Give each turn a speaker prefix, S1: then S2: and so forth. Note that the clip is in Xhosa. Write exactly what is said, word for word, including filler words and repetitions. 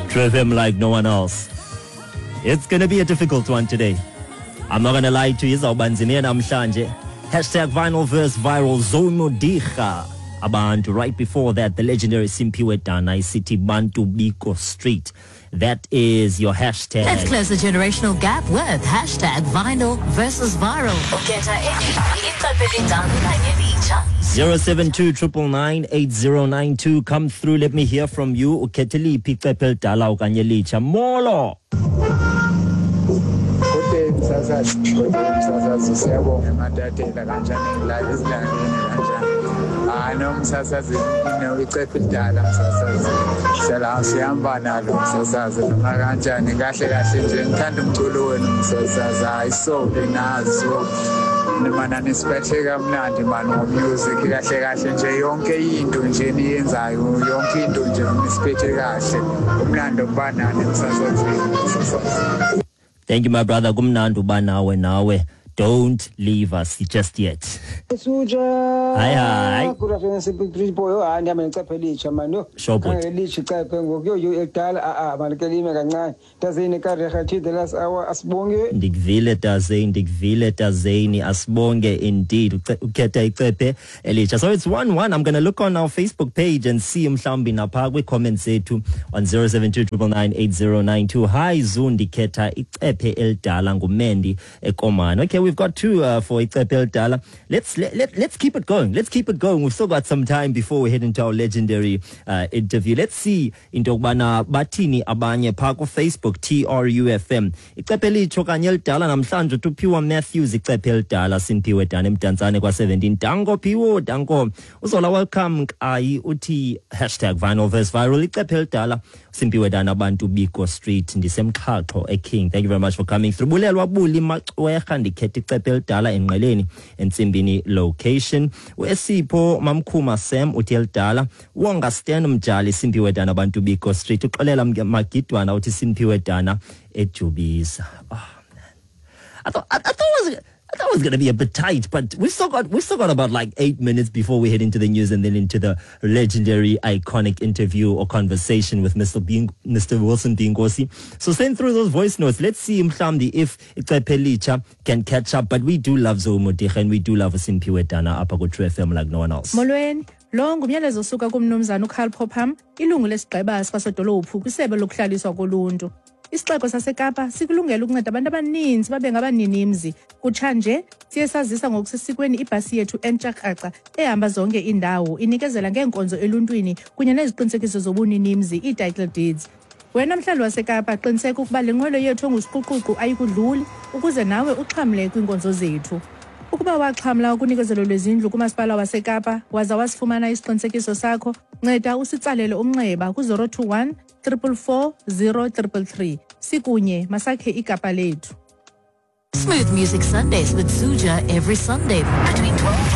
S1: Tru F M like no one else. It's gonna be a difficult one today. I'm not gonna lie to you, izawuba nzima namhlanje. Hashtag vinyl verse viral Zoe Modiga. Abantu. Right before that, the legendary Simphiwe Dana, City Bantu Biko Street. That is your hashtag.
S2: Let's close the generational gap with hashtag vinyl versus viral.
S1: zero seven two triple nine eight zero nine two. Come through. Let me hear from you. Ukhethe liphi icephe elidala okanye elitsha? Molo.
S3: Good day, msasazi. Good day, msasazi. Siyabonga ematatela kanjani la ezilalini kanjani. Hayi no msasazi, icephe elidala msasazi. Siyala sihamba nalo msasazi noma kanjani kahle kahle nje ngithanda umculo wenu msasazi. Hayi so nazo nimana nisiphethe kamnandi man ngomusic kahle kahle nje yonke into nje niyenzayo yonke into nje nisiphethe kahle umlando kubanani msasazi.
S1: Thank you, my brother. Kumnandi uba nawe nawe. Don't leave us just yet.
S4: Suja.
S1: Hi hi.
S4: Good afternoon, Bridge boy. Hayi ndihamba necephe elitsha man. Yho.
S1: Sure bhuti.
S4: Elitsha icephe ngoku. Yho yho elidala a a malukelime kancane. Tazini kareha the last hour asibonge.
S1: Ndikuvile Tazini, ndikuvile Tazini asibonge indeed. Ukhetha icephe elitsha. So it's one one. I'm going to look on our Facebook page and see mhlawumbi napha kwi comments zethu on zero seven two triple nine eight zero nine two. Hi Zu, ndikhetha icephe elidala nguMendi eKomani. Okay, we've got two uh, for icephe elidala. Let's let, let let's keep it going. Let's keep it going. We've still got some time before we head into our legendary uh, interview. Let's see into yokubana bathini abanye phaa ku Facebook T R U F M. Icephe elitsha okanye elidala namhlanje uTuphiwa Matthews icephe elidala Simphiwe Dana eMdantsane kwa seventeen. Danko Phiwo, danko. Uzola welcome Nkayi uthi hashtag vinyl verse viral icephe elidala Simphiwe Dana Bantu Biko Street ndisemxhaxho eKing. Thank you very much for coming through. Bulelwa Buli Maxwerha ndikhetha icephe elidala enqeleni entsimbini location. Wesipho Mamkhuma Sam uthi elidala. Wonga Stan Mjali Simphiwe Dana Bantu Biko Street. Uxolela Magidwana uthi Simphiwe Dana eJubisa. Oh man. I thought I, I thought it was I thought it was going to be a bit tight, but we've still got we've still got about like eight minutes before we head into the news and then into the legendary, iconic interview or conversation with Mister Bing, Mister Wilson Bingosi. So send through those voice notes. Let's see mhlawumbi if icephe elitsha can catch up. But we do love Zoe Modiga and we do love Simphiwe Dana apha ku Tru F M like no one else.
S5: Molweni. Lo ngumyalezo osuka kumnumzana uCarl Popham, ilungu lesigqeba sikasodolophu kwisebe lokuhlaliswa koluntu. Isixeko saseKapa sikulungele ukunceda abantu abaninzi babe ngabaninimzi. Kutshanje siye sazisa ngokusesikweni ibhasi yethu entsha kraca ehamba zonke iindawo inikezela ngeenkonzo eluntwini kunye neziqinisekiso zobuninimzi, ii-title deeds. Wena mhlali waseKapa qiniseka ukuba le nqwelo yethu engusiquququ ayikudluli ukuze nawe uxhamle kwiinkonzo zethu. Ukuba waxhamla ukunikezelo lwezindlu kumasipala waseKapa waza wasifumana isiqinisekiso sakho, nceda usitsalele umnxeba ku-zero two one triple four zero triple three. Sikunye masakhe iKapa lethu.
S2: Smooth Music Sundays with Suja every Sunday between twelve